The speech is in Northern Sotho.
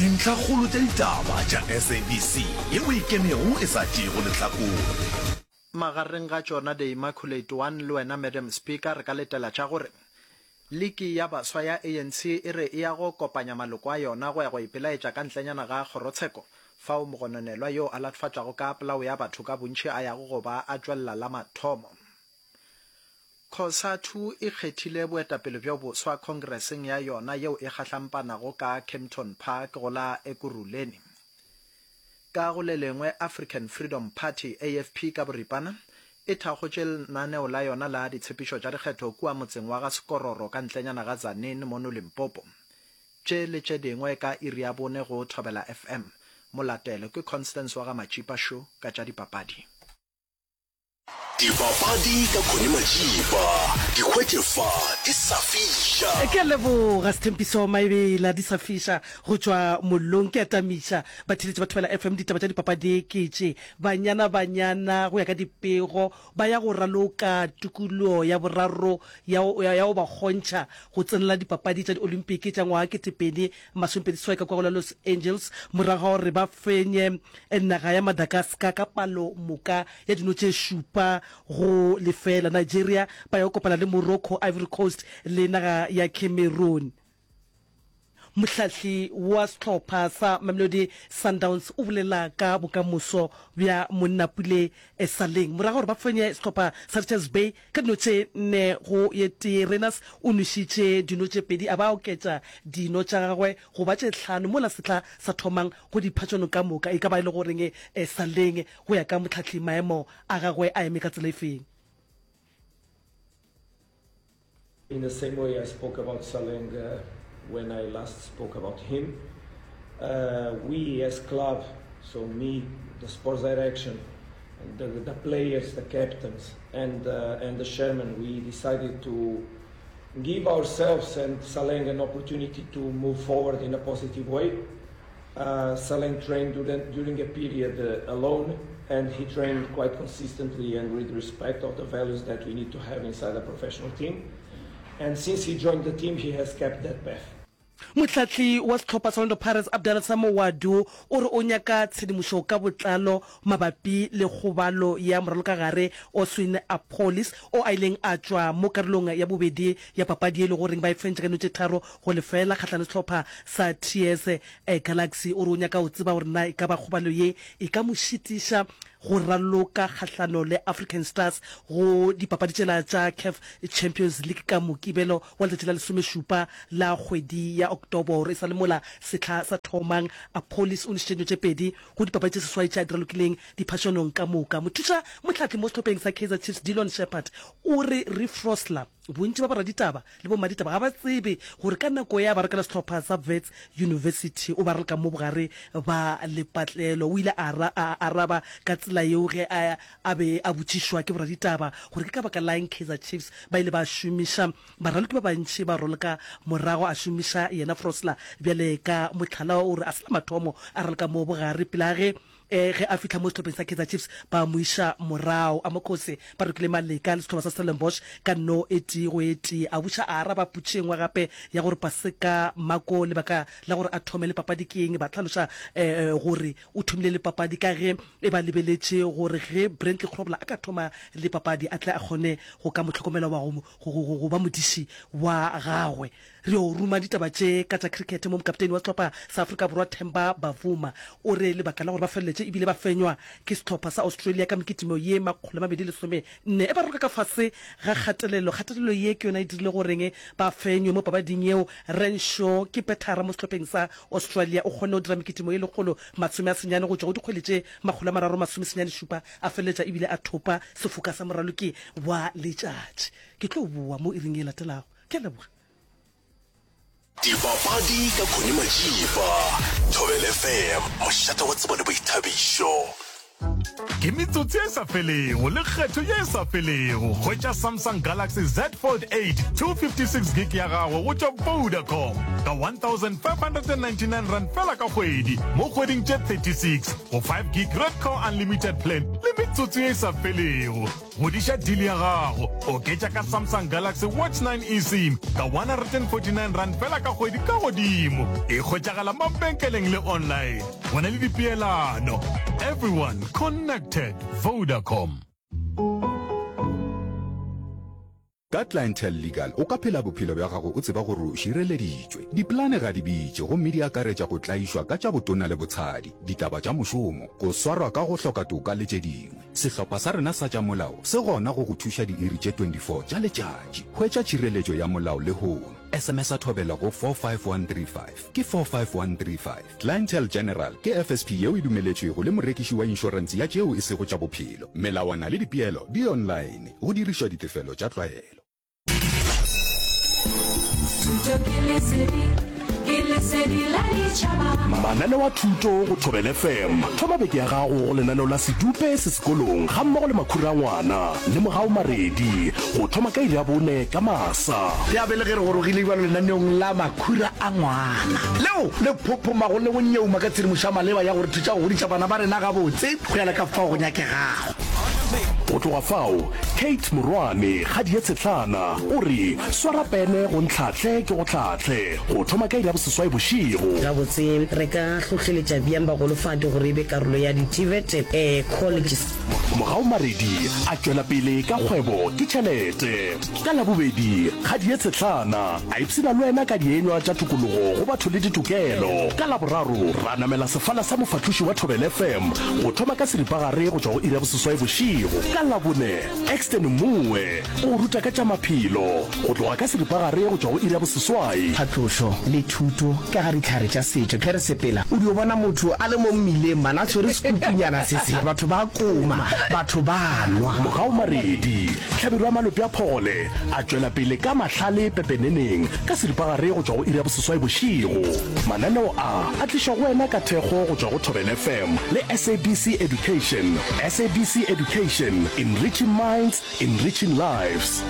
Dintlhakgolo tša ditaba tša SABC yeo e ikemego e sa tšeego lehlakore. Magareng ga tšona The Immaculate One le wena Madam Speaker re ka letela tša gore Liki ya Baswa ya ANC e re e ya go kopanya maloko a yona go ya go ipelaetša ka ntlenyana ga kgorotsheko fao mogononelwa yo a latofatšwago ka polao ya batho ka bontši a yago go ba a tšwelela la mathomo. Cosatu e kgethile boetapele bjo boswa khongreseng ya yona yeo e kgahlampanago ka Kempton Park go la Ekurhuleni. Ka go le lengwe, African Freedom Party, AFP ka boripana, e thakgotše lenaneo la yona la ditshepišo tša dikgetho kua motseng wa ga Sekororo ka ntlenyana ga Tzaneen mono Limpopo. Tše le tše dingwe ka iri ya bone go Thobela FM. Molatelo ke Constance wa ga Matšipa Sho ka tša dipapadi. Dipapadi ka Connie Majiba, di hwetše fa di sa fiša. Ke a leboga Sthembiso Maebela, di sa fiša go tšwa mollong. Ke a tamiša batheeletši ba Thobela FM, ditaba tša dipapadi ke tše. Banyana Banyana go ya ka dipego ba ya go raloka tikologo ya boraro ya, ya, ya go ba kgontšha go tsenela dipapadi tša Diolimpiki tša ngwaga 2027 ka kua go la Los Angeles morago ga gore ba fenye naga ya Madagascar ka palo moka ya dino tše šupa go lefela. Nigeria ba ya go kopana le Morocco, Ivory Coast le naga ya Cameroon. Mohlahli wa sehlopha sa Mamelodi Sundowns o bolela ka bokamoso bja Monnapule Saleng morago ga gore ba fenye sehlopha sa Richards Bay ka dino tše nne go ye tee. Rayners o nwešitše dino tše pedi a ba a oketša dino tša gagwe go ba tše hlano mola sehla sa thomang go diphatšano ka moka e ka ba e le goreng Saleng Go ya ka mohlahli, maemo a gagwe a eme ka tsela efeng? In the same way I spoke about Saleng when I last spoke about him, we as club, so me, the sports direction, the, the players, the captains and, and the chairman, we decided to give ourselves and Saleng an opportunity to move forward in a positive way. Uh, Saleng trained during, during a period uh, alone, and he trained quite consistently and with respect of the values that we need to have inside a professional team. And since he joined the team, he has kept that path. Mohlahli wa sehlopha sa Orlando Pirates Abdallah Samowadu o re o nyaka tshedimošo ka botlalo mabapi le kgobalo ya moralokagare Oswin Appollis o a ileng a tšwa mo karolong ya bobedi ya papadi ye e le goreng ba e fentše ka dino tše tharo go lefeela kgahlano le sehlopha sa TS Galaxy. O re o nyaka go tseba gore na e ka ba kgobalo ye e ka mo šitiša go raloka kgahlano le African Stars go dipapadi tšela tša CAF Champions League ka Mokibelo wa letšatši la lesomešupa la kgwedi ya Oktoboro. E sa le mola sehla sa thomang, Appollis o nwešitše dino tše pedi go dipapadi tše seswai tše a di ralokileng diphašanong ka moka. Mothuša mohlahli mo sehlopheng sa Kaizer Chiefs Dillon Sheppard o re Reeve Frosler, bontši ba boraditaba le bommaditaba ga ba tsebe gore ka nako ya ba rokela sehlopha sa Wits University o ba raloka mo bogare ba lepatlelo. O ile a a araba ka tsela yeo ge a a be a botšišwa ke boraditaba gore ke ka baka la eng Kaizer Chiefs ba ile ba šomiša Baraloki ba bantši ba raloka morago a šomiša yena Frosler bjale ka mohlala o re a se la mathomo a raloka mo bogare pele ga ge ge a fihla mo sehlopheng sa Kaizer Chiefs ba mo iša morago. Amakhosi ba rokile Maleka le sehlopha sa Stellenbosch ka no e tee go e tee. A buša a araba potšišo e nngwe gape ya gore Paseka Mako lebaka la gore a thome le papadi ke eng, ba hlaloša gore o thomile le papadi ka ge e ba lebeletše gore ge Brently Grobler a ka thoma le papadi a tle a kgone go ka mo hlokomela wa go go, go, go ba modiši wa gagwe. Re yo ruma ditaba tše ka tša cricket mo mokapteni wa sehlopha sa Afrika Borwa Themba Bavuma o re lebaka la gore ba feleletše ebile ba fenywa ke sehlopha sa Australia ka mekitimo ye 214 e ba roka ka fase ga kgatelelo. Kgatelelo ye ke yona e dirile goreng ba fenywe mo papading yeo. Renshaw ke pethara mo sehlopheng sa Australia o kgonne go dira mekitimo ye 190 go tšwa go dikgwele tše 397 a feleletša ebile a thopa sefoka sa moraloki wa letšatši. Ke tlo boa mo iring e latelago. Ke a leboga. Dipapadi ka Connie Majiba, Thobela FM, mošate wa tsebo le boithabišo. Ke metsotso ye e sa felego le kgetho ye e sa felego. Hwetša Samsung Galaxy Z Fold 8 256 gig ya gago go tšwa Vodacom ka R1599 fela ka kgwedi mo kgweding tše 36 go 5 gig Redco Unlimited plan le metsotso ye e sa felego. Godiša deal ya gago, oketša ka Samsung Galaxy Watch 9 eSIM ka R149 fela ka kgwedi ka godimo. E hwetšagala mabenkeleng le online. Go na le dipeelano. Everyone connected. Vodacom. Ka Clientele Legal o ka phela bophelo bja gago o tseba gore o šireleditšwe. Dipolane ga di bitše gomme di akaretša go tlaišwa ka tša botona le botshadi, ditaba tša mošomo, go swarwa ka go hloka toka le tše dingwe. Sehlopha sa rena sa tša molao se gona go go thuša diiri tše 24 tša letšatši. Hwetša tšhireletšo ya molao lehono. SMS-a Thobela go 45135. Ke 45135. Clientele General ke FSP yeo e dumeletšwego le morekiši wa inšorense ya tšeo e sego tša bophelo. Melawana le dipeelo di online, go dirišwa ditefelo tša tlwaelo. Thuto ke lesedi, ke lesedi la ditšhaba. Mananeo a thuto go Thobela FM. Thoma beke ya gago go lenaneo la Sedupe se sekolong gammogo le Makhura a Ngwana le Mogau Maredi go thoma ka iri ya bone ka masa. Ya be le ge re gorogile bjalo lenaneong la Makhura a Ngwana, leo le phophomago le go nyeuma ka tshedimošo ya maleba ya go re thuša go godiša bana ba rena gabotse go ya le ka fao go nyakegago. Go tloga fao, Kate Morwane, kgadi ye tshehlana, o re, Swara pene go ntlhahle ke go hlahle, go thoma ka iri ya boseswai bošego. Gabotse, re ka hlohleletša bjang bagolofadi gore e be karolo ya di-TVET colleges? Mogau Maredi a tšwela pele ka kgwebo ke tšhelete. Ka Labobedi, kgadi ye tshehlana a ipshina le wena ka dienywa tša tokologo go batho le ditokelo. Ka Laboraro, ra namela sefala sa mofahloši wa Thobela FM go thoma ka seripagare go tšwa go iri ya boseswai bošego. Ka Labone, Exton Mmuwe o go ruta ka tša maphelo go tloga ka seripagare go tšwa go iri ya boseswai. Phatlošo le thuto ka ga dihlare tša setšo. Ge re sepela o dio bona motho a le mo mmileng man a tshwere sekupunyana se se, batho ba koma, batho ba nwa. Mogau Maredi, Hlabirwa Malope a Phogole a tšwela pele ka mahlale pepeneneng ka seripagare go tšwa go iri ya boseswai bošego. Mananeo a a tlišwa go wena ka thekgo go tšwa go Thobela FM le SABC Education. SABC Education, enriching minds, enriching lives.